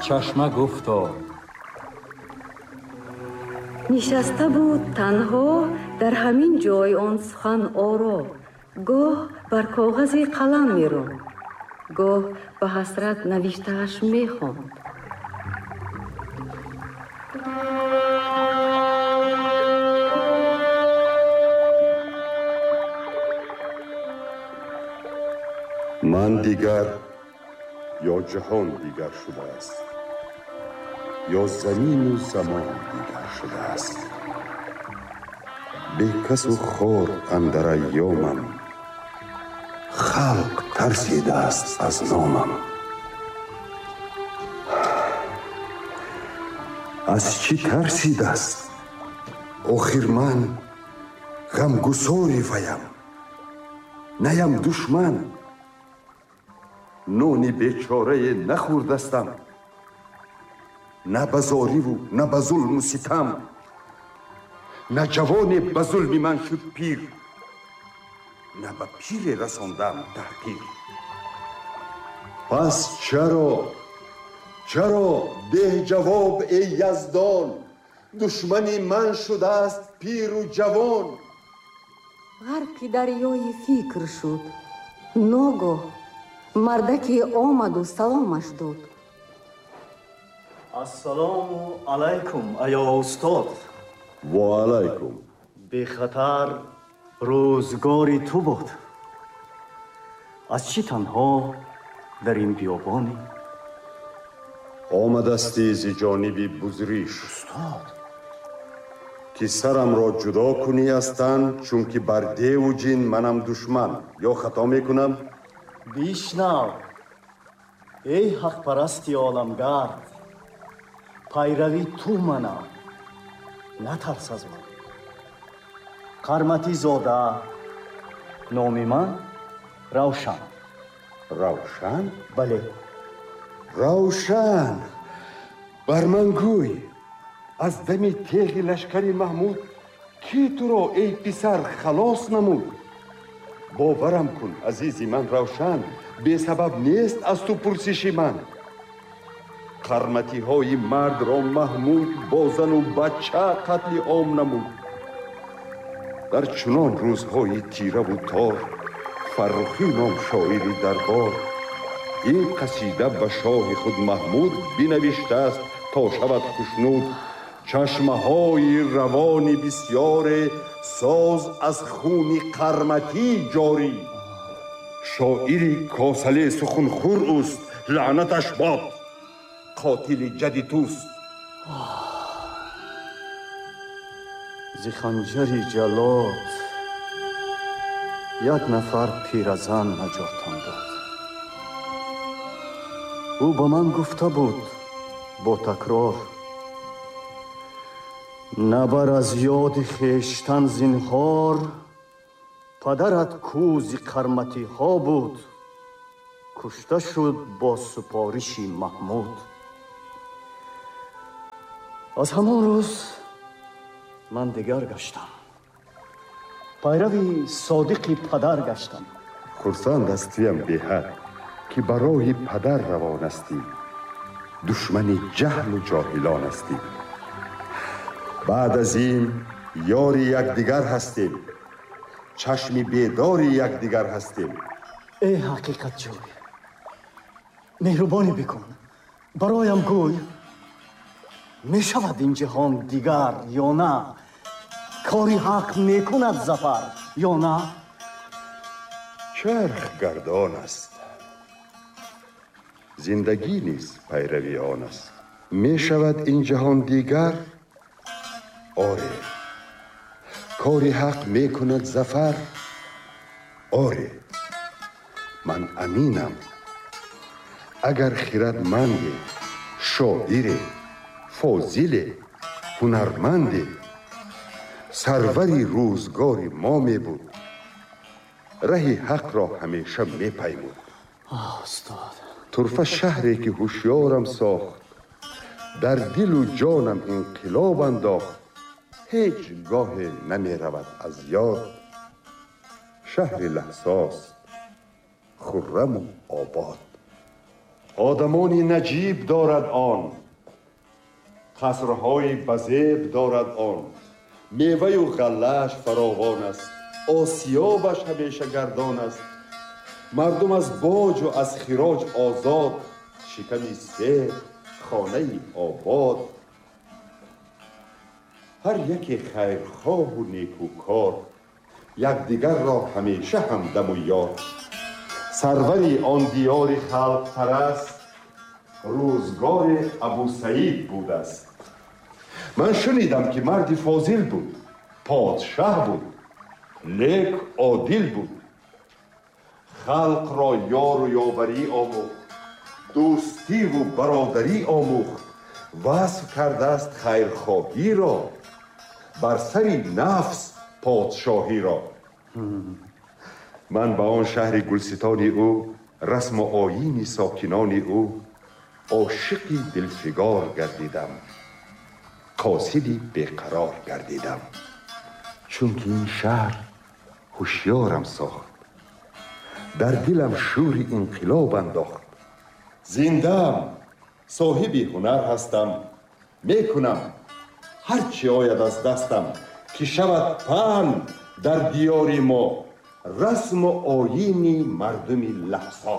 Чашма гуфто. Нишаста буд танҳо дар ҳамин ҷой он сухан оро, гоҳ бар коғази қалам меронд, гоҳ ба ҳасрат навиштааш мехонд. Ман дигар ё ҷаҳон дигар шудааст, ё замину замон дигар шудааст. Бекасу хор андар айёмам, халқ тарсидааст аз номам. Аз чӣ тарсидааст? Охир ман ғамгусори ваям, наям душман. Нони бечорае нахӯрдастам, на ба зориву на ба зулму ситам. На ҷавоне ба зулми ман шуд пир, на ба пире расондам таҳқир. Пас чаро, чаро деҳ ҷавоб, эй Яздон, душмани ман шудааст пиру ҷавон? Ғарқи дарёи фикр шуд. Ногоҳ мардаке омаду саломаш дод. Ассалому алайкум, аё устод. Ва алайкум. Бехатар рӯзгори ту буд. Аз чӣ танҳо дар ин биёбонӣ? Омадасти зи ҷониби Бузриш. Устод, ки сарамро ҷудо кунӣ аз тан, чунки бар деву ҷин манам душман. Ё хато мекунам? Бишнав, эй ҳақпарасти оламгард, пайрави ту манам, натарс аз ман. Қарматизода, номи ман Равшан. Равшан? Бале. Равшан, бар ман гӯй, аз дами теғи лашкари Маҳмуд кӣ туро, эй писар, халос намуд? Боварам кун, азизи ман Равшан, бесабаб нест аз ту пурсиши ман. Қарматиҳои мардро Маҳмуд бо зану бача қатли ом намуд. Дар чунон рӯзҳои тираву тор Фаррухӣ ном шоири дарбор ин қасида ба шоҳи худ Маҳмуд бинавиштааст то шавад хушнуд. Чашмаҳои равони бисёре соз аз хуни қарматӣ ҷорӣ. Шоири косале сухунхӯр ӯст, лаънаташ бод, қотили ҷади туст. Зи ханҷари ҷаллод як нафар пиразан наҷотам дод. Ӯ ба ман гуфта буд бо такрор: набар аз ёди хештан зинҳор, падарат кӯзи қарматиҳо буд, кушта шуд бо супориши Маҳмуд. Аз ҳамон рӯз ман дигар гаштам, пайрави содиқи падар гаштам. Хурсанд ҳастиям беҳад, ки ба роҳи падар равон ҳастӣ, душмани ҷаҳлу ҷоҳилон ҳастӣ. Баъд аз ин ёри якдигар ҳастем, чашми бедори якдигар ҳастем. Эй ҳақиқатҷӯй, меҳрубонӣ бикун, бароям гӯй, мешавад ин ҷаҳон дигар ё на? Кори ҳақ мекунад зафар ё на? Чарх гардон аст, зиндагӣ низ пайрави он аст. Мешавад ин ҷаҳон дигар? Оре. Кори ҳақ мекунад зафар? Оре. Ман аминам, агар хирадманде, шоире, фозиле, ҳунарманде, сарвари рӯзгори мо мебуд, раҳи ҳақро ҳамеша мепаймуд. Устод, турфа шаҳре ки ҳушёрам сохт, дар дилу ҷонам инқилоб андохт, ҳеҷ гоҳе намеравад аз ёд. Шаҳри лаҳсост, хурраму обод. Одамони наҷиб дорад он, қасрҳои базеб дорад он, меваю ғаллааш фаровон аст, осиёбаш ҳамеша гардон аст. Мардум аз боҷу аз хироҷ озод, шиками сер, хонаи обод. Ҳар яке хайрхоҳу некӯкор, якдигарро ҳамеша ҳамдаму ёр. Сарвари он диёри халқпараст рӯзгори Абусаид будааст. Ман шунидам, ки марди фозил буд, подшаҳ буд, лек одил буд. Халқро ёру ёварӣ омӯхт, дӯстиву бародарӣ омӯхт. Васф кардааст хайрхоҳиро, бар сари нафс подшоҳиро. Ман ба он шаҳри гулситони ӯ, расму оини сокинони ӯ ошиқи дилфигор гардидам, қосиди беқарор гардидам. Чунки ин шаҳр ҳушёрам сохт, дар дилам шӯри инқилоб андохт. Зиндаам, соҳиби ҳунар ҳастам, мекунам ҳар чӣ ояд аз дастам, ки шавад паҳн дар диёри мо расму оини мардуми лаҳзо.